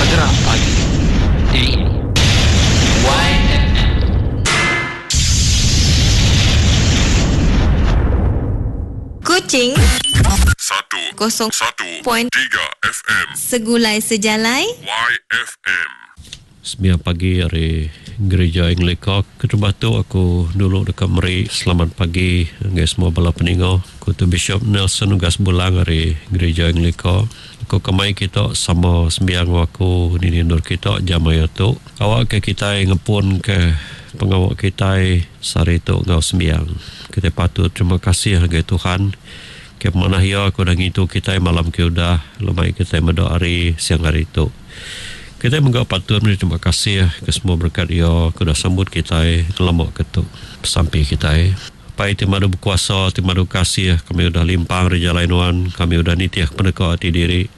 Geram Pagi. Di YFM. Kuching Satu kosong satu point tiga FM Segulai Sejalai YFM. Sembiang pagi ari Gerija Anglika. Keterubah tu aku dulu deka meri selamat pagi ngagai semua bala peninga. Aku tu Bishop Nelson Ugas Bulang ari Gerija Anglika. Aku ke mai kita sama sembiang enggau aku dini endur kita jam maya tu. Awakka kitai ngepunka pengawa kitai sehari tu enggau sembiang. Kitai patut terima kasih ngagai Tuhan ke pemanah Iya ke udah ngintu kitai malam ke udah lemai kitai meda hari siang hari tu. Kitai mega patut meri terima kasih ke semua berekat Iya ke udah sambut kitai ngelama ke tu. Besampi kitai. Apai ti madu bekuasa, ti madu kasih, kami udah limpang ari jalai Nuan, kami udah nitih peneka ati diri.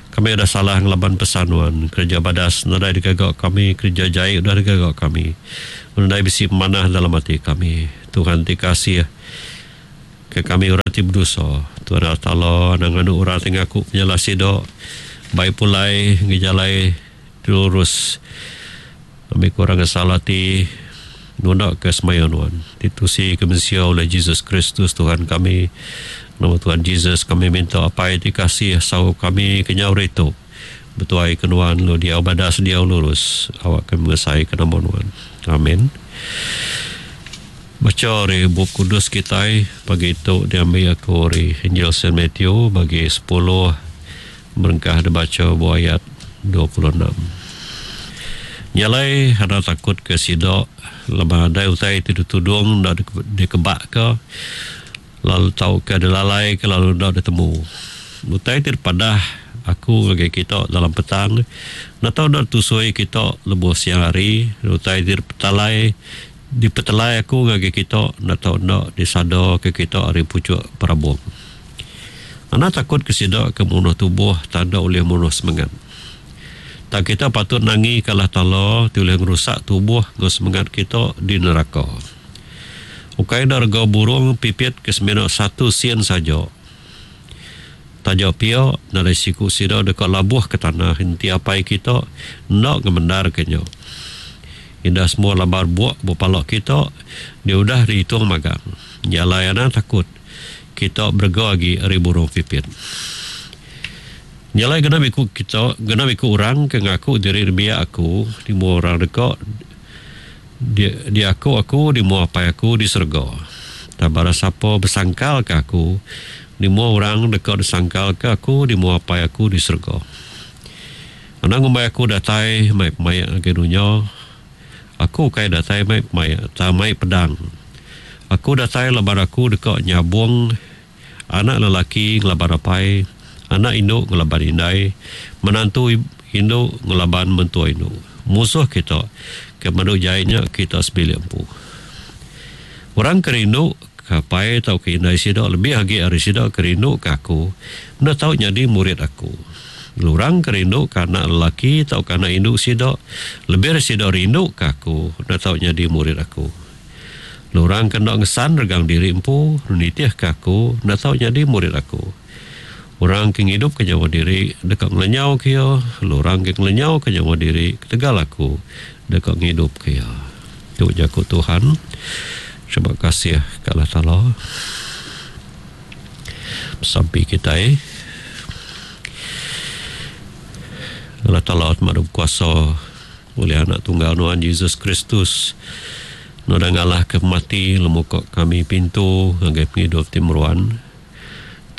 Kami udah salah ngelaban pesan Nuan. Kereja badas nadai digaga kami, kereja jai udah digaga kami. Nadai bisi pemanah dalam ati kami. Tuhan ti kasih. Ke kami orang ti bedosa. Tuhan Allah Taala anang nganu orang ti ngaku penyalah sida bai pulai enggau jalai ti lurus. Ambi ke orang ngesal ati nunda ke semaya nuan ti tusi ke mensia oleh Jesus Kristus Tuhan kami. Nama Tuhan Jesus kami minta Apai ti kasih saup kami kenyau ari tu betuai ke nuan lalu diau badas diau lurus awak kami ngesai ke nama nuan. Amin. Bacha ari Bup Kudus kitai pagi tu diambi aku ari Injil Saint Matthew bagi sepuluh berengkah dibacha ba ayat 26. Nya alai enda takut ke sida laban adai utai ti ditudung enda dikebakka lalu tauka dilalaika lalu enda ditemu. Utai ti dipadah aku ngagai kita dalam petang enda tau enda ditusui kita lebuh siang hari, utai ti dipetalai Dipetelai aku ngagai kita enda tau enda disadaka kita ari puchuk perabung. Anang takut ke sida ke munuh tubuh tang enda ulih munuh semengat. Tang kita patut nangika Allah Taala ti ulih ngerusak tubuh enggau semengat kita di neraka. Ukai enda rega burung pipit ke semina satu sen saja. Taja pia, nadai siku sida deka labuh ke tanah enti apai kita enda ngemendarka nya. Indah semua lambar buk ba pala kita dia udah diitung magang. Nya alai anang takut, kita berega agi ari burung pipit. Nya alai genap iku kita, genap iku orang ke ngaku diri nembiak aku di mua orang deka di diaku aku di mua Apai aku di serega. Tang barang sapa besangkalka aku di mua orang deka disangkalka aku di mua Apai aku di serega. Anang ngumbai aku datai mai pemaik ngagai dunya. Aku ukai datai mai pemaik tang mai pedang. Aku datai laban aku deka nyabung anak lelaki ngelaban apai, anak indu ngelaban indai, menantu indu ngelaban mentua indu. Musuh kita ke madu jai nya kita sebilik empu. Orang ke rindu ke apai tauka indai sida lebih agi ari sida ke rindu ke aku, enda tau nyadi murid aku. Lalu orang ke rindu ke anak lelaki tauka anak indu sida, lebih ari sida rindu ke aku, enda tau nyadi murid aku. Lalu orang ke enda ngesan regang diri empu, lalu nitihka aku, enda tau nyadi murid aku. Orang ke ngidupka nyawa diri, deka ngelenyauka iya, lalu orang ke ngelenyauka nyawa diri ketegal aku, deka ngidupka iya. Tu jaku Tuhan. Terima kasih ke Allah Taala. Besampi kitai. Allah Taala ti madu bekuasa ulih Anak Tunggal Nuan Jesus Kristus Nuan udah ngalahka pemati lalu muka kami pintu ngagai pengidup ti meruan.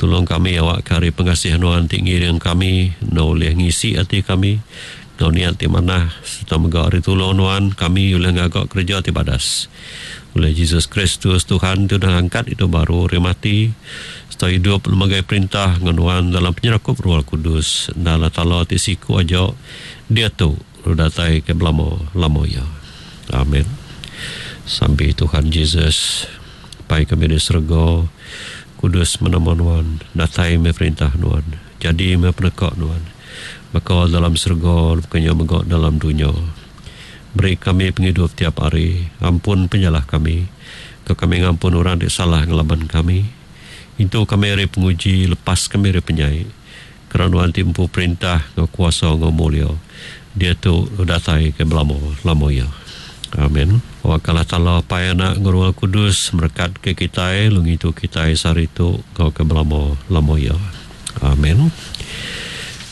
Tulung kami awakka ari pengasih Nuan ti ngiring kami enda ulih ngisi ati kami enggau niat ti manah sereta mega ari tulung Nuan kami ulih ngaga kereja ti badas. Ulih Jesus Kristus Tuhan ti udah ngangkat idup baru ari mati sereta idup nemagai perintah enggau Nuan dalam penyerakup Ruah Kudus enda Allah Taala ti siku aja diatu lalu datai ke belama lama iya. Amen. Sampi Tuhan Jesus, Apai kami di serega, kudus meh nama Nuan, datai meh perintah Nuan, jadi meh peneka Nuan, baka dalam serega baka nya mega dalam dunya. Beri kami pengidup tiap hari. Ampun penyalah kami, ke kami ngampun orang ti salah ngelaban kami. Intu kami ari penguji, lepas kami ari penyai. Keran nuan ti empu perintah enggau kuasa enggau mulia diatu datai ke belama lama iya. Amen. Awakka Allah Taala Apai Anak enggau Roh Kudus merekat ke kitai lalu ngintu kitai sehari tu enggau ke belama lama iya. Amen.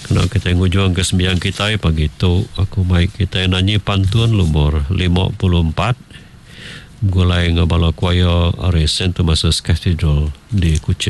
Kena kitai ngujung ke sembiang kitai pagi tu aku mai kitai nanyi pantun lumur 54 begulai enggau bala choir ari Saint Thomas's Cathedral di Kuching.